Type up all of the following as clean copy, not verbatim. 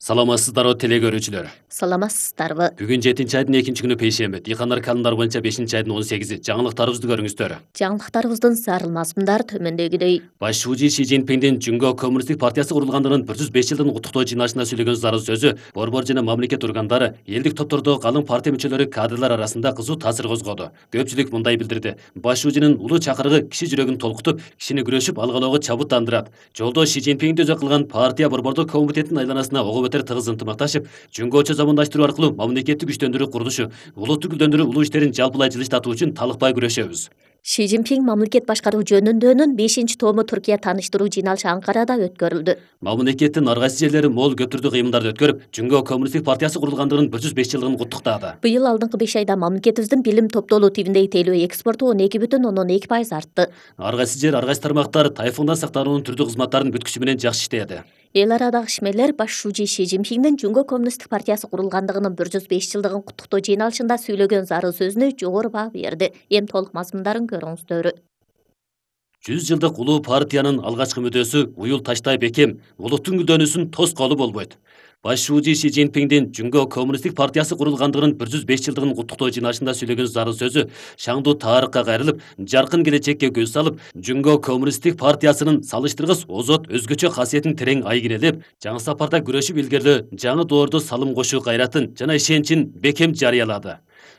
Саламатсыздарбы теле көрүүчүлөр. Саламатсыздарбы. Бүгүн 7-айдын 2-күнү пейшемби. Дыйкандар календар боюнча 5-айдын 18-и. Жаңылыктарыбызды көрүңүздөр. Жаңылыктарыбыздын зарылмасындар төмөндөгүдөй. Баш шүүжү Ши Цзиньпиндин Жүнгө Коммунисттик партиясы курулгандыгынын 105 жылдын куттуктоо жыйналышында сөйлөгөн зарыл сөзү борбор жана мамлекет органдары, элдик топтордо калың партия мүчөлөрү, кадрлар арасында кызуу таасир козгоду. Көпчүлүк мындай билдирди: баш шүүжүнүн улуу чакырыгы киши жүрөгүн толкутуп, кишини күрөшүп алгалоого чабыттандырат. Жолдо Ши Цзиньпинди өзөк кылган партия борбордук комитеттин айланасына ого бетер тыгыз ынтымакташып, Жүнгөчө замандаштыруу аркылуу мамлекетти күчтөндүрүү курулушу, улутту гүлдөндүрүү улуу иштерин жалпылай жылыштатуу үчүн талыкпай күрөшөбүз. Ши Цзиньпин мамлекет башкаруу жөнүндөнүн 5-тому Түркия тааныштыруу жыйналышы Анкарада өткөрүлдү. Мамлекеттин ар кайсы жерлери мол көптүрдүү кыймылдарды өткөрүп, Жүнгө Коммунисттик партиясы курулгандыгынын 105 жылдыгын куттуктады. Быйыл алдыңкы 5 айда мамлекетибиздин билим топтолуу тивиндеги тейлөө экспорту 12,2% артты. Ар кайсы жер, ар кайсы тармактар тайфундан сактануунун түрдүү кызматтарын бүткүчү менен жакшы иштеди. Эл арадагы ишмерлер баш шүүжү Ши Цзиньпиндин Жүнгө Коммунисттик партиясы курулгандыгынын 105 жылдыгын куттуктоо жыйналышында сөйлөгөн зарыл сөзүнө жогору баа берди. Эми толук мазмундарын көрүңүздөр. 100 жылдык улуу партиянын алгачкы мүдөөсү уюл таштай бекем, улуттун гүлдөнүүсүн тоскоолу болбойт. Баш шүүжү Ши Цзиньпиндин Жүнгө Коммунисттик партиясы курулгандыгынын 105 жылдыгын куттуктоо жыйналышында сөйлөгөн зарыл сөзү шаңдуу тарыхка кайрылып, жаркын келечекке көз салып, Жүнгө Коммунисттик партиясынын салыштыргыс озот өзгөчө касиетин терең айгинелеп, жаңы сапарда күрөшүп илгерлөө, жаңы доордо салым кошуу кайратын жана ишенчин бекем жарыялады.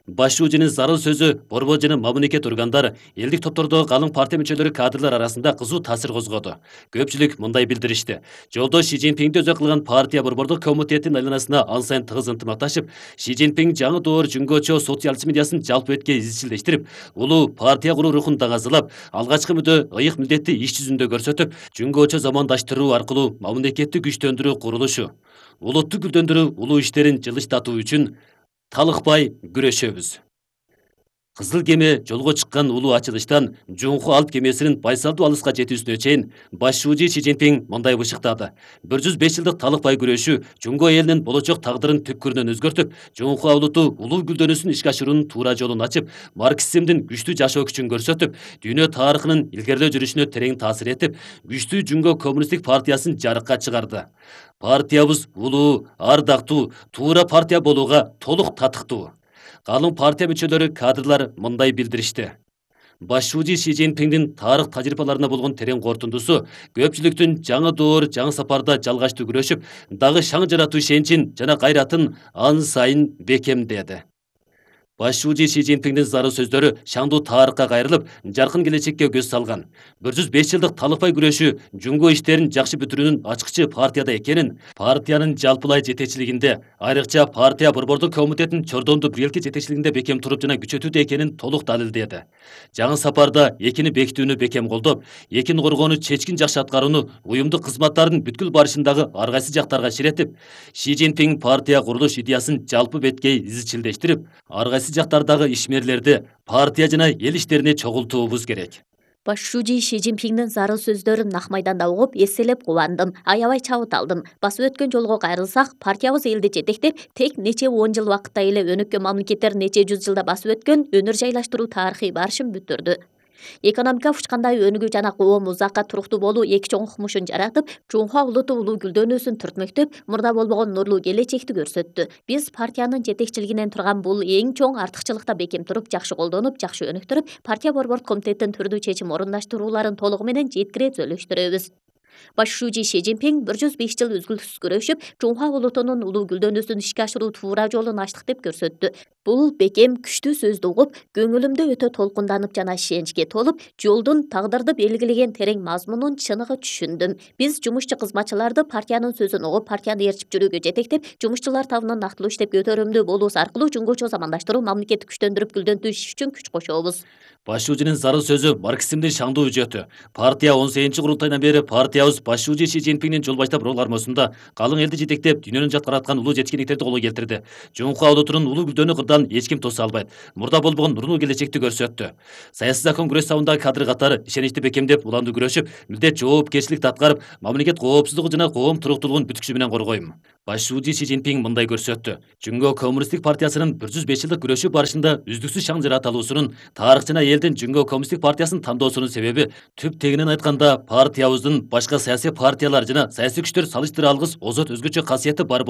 Баш шүүжүнүн зарыл сөзү борбор жана мамлекет органдары, элдик топтордогу калың партия мүчөлөрү, кадрлар арасында кызуу таасир козгоду. Көпчүлүк мындай билдиришти: жолдо Ши Цзиньпинди өзөк кылган партия борбордук комитеттин айланасына ан сайын тыгыз ынтымакташып, Ши Цзиньпин жаңы доор Жүнгөчө социализм идеясын жалпы бетке изчилдештирип, улуу партия куруу рухун даңазалап, алгачкы мүдө ыйык милдетти иш жүзүндө көрсөтүп, Жүнгөчө замандаштыруу аркылуу мамлекетти күчтөндүрүү курулушу, улутту гүлдөндүрүү улуу иштерин жылыштатуу үчүн талыкпай күрөшөбүз. Кызыл кеме жолго чыккан улуу ачылыштан Жунху алт кемесинин байсалдуу алыска жетүүсүнө чейин баш шүүжү Ши Цзиньпин мындай бышыктады: 105 жылдык талыкпай күрөшүү Жүнгө элинин болочок тагдырын түпкүрүнөн өзгөртүп, Жунху улуту улуу гүлдөнүүсүн ишке ашыруунун туура жолун ачып, марксизмдин күчтүү жашоо күчүн көрсөтүп, дүйнө тарыхынын илгерлөө жүрүшүнө терең таасир этип, күчтүү Жүнгө Коммунисттик партиясын жарыкка чыгарды. Партиябыз улуу, ардактуу, туура партия болууга толук татыктуу. Калың партия мүчөлөрү, кадрлар мындай билдиришти: баш шүүжү Ши Цзиньпиндин тарых тажрыйбаларына болгон терең кортундусу көпчүлүктүн жаңы доор, жаңы сапарда жалгачтуу күрөшүп, дагы шаң жаратуу ишенчин жана кайратын ан сайын бекемдеди. Баш шүүжү Ши Цзиньпиндин зарыл сөздөрү шаңдуу тарыхка кайрылып, жаркын келечекке көз салган. 105 жылдык талыкпай күрөшүү Жүнгө иштерин жакшы бүтүрүүнүн ачкычы партияда экенин, партиянын жалпылай жетекчилигинде, айрыкча партия борбордук комитетинин чордондуу бирелки жетекчилигинде бекем туруп жана күчөтүүдө экенин толук далилдеди. Жаңы сапарда экини бекитүүнү бекем колдоп, экин коргоону чечкин жакшы аткарууну уюмдук кызматтардын бүткүл барышындагы ар кайсы жактарга ширетип, Ши Цзиньпин партия курулуш идеясын жалпы бетке изчилдештирип, ар кайсы жактардагы ишмерлерди партия жана эл иштерине чогултуубуз керек. Баш шүүжү Ши Цзиньпиндин зарыл сөздөрүн нак майданда угуп, эсселеп кубандым, аябай чабыт алдым. Басып өткөн жолго кайрылсак, партиябыз элди жетектеп, тек нече 10 жыл убакытта эле өнөккөн мамлекеттер нече жүз жылда басып өткөн өнөр жайлаштыруу тарыхый барышын бүтүрдү. Экономика учкандай өнүгүү жана коом узакка туруктуу болуу эки чоң укмушун жаратып, Жунху улуту улуу гүлдөнүүсүн түртмөктөп, мурда болбогон нурлуу келечекти көрсөттү. Биз партиянын жетекчилигинен турган бул эң чоң артыкчылыкта бекем туруп, жакшы колдонуп, жакшы өнүктүрүп, партия борбордук комитеттин түрдүү чечим орундаштырууларын толугу менен жеткире түзөлүштүрөбүз. Баш шүүжү Ши Цзиньпин 105 жыл үзгүлтүксүз күрөшүп, Жунху улутунун улуу гүлдөнүүсүн ишке ашыруу туура жолун ачтык деп көрсөттү. Бул бекем, күчтүү сөздү угуп, көңүлүмдө өтө толкунданып жана ишеничке толуп, жолдун тагдырды белгилеген терең мазмунун чыныгы түшүндүм. Биз жумушчу кызматчыларды партиянын сөзүн угуп, партияны ээрчип жүрүүгө жетектеп, жумушчулар табынан нактылуу иштеп көтөрүмдүү болуубуз аркылуу Жүнгөчө замандаштыруу, мамлекетти күчтөндүрүп, гүлдөнтүү иш үчүн күч кошобуз. Баш шүүжүнүн зарыл сөзү марксизмдин шаңдуу үжөтү. Партия 18 курултайдан бери партиябыз баш шүүжү Ши Цзиньпиндин жол баштап ролармосунда калың элди жетектеп, дүйнөнүн жаткараткан улуу жеткиндиктерди колго келтирди. Жунху улутунун улуу гүлдөнүү кырдан эч ким тоса албайт. Мурда болбогон нурлуу келечекти көрсөттү. Саясий закон күрөш сабындагы кадр катары ишеничти бекемдеп, уламдуу күрөшүп, милдет жоопкерчиликти аткарып, мамлекет коопсуздугу жана коом туруктуулугун бүткүчү менен коргойм. Баш шүүжү Ши Цзиньпин мындай көрсөттү: Жүнгө Коммунисттик партиясынын 105 жылдык күрөшүү барышында үздүксүз шаң жарата алуусунун, тарых жана элдин Жүнгө Коммунисттик партиясын тандоосунун себеби түп тегинен айтканда партиябыздын башка саясий партиялар жана саясий күчтөр салыштыра алгыс озот өзгөчө касиети бар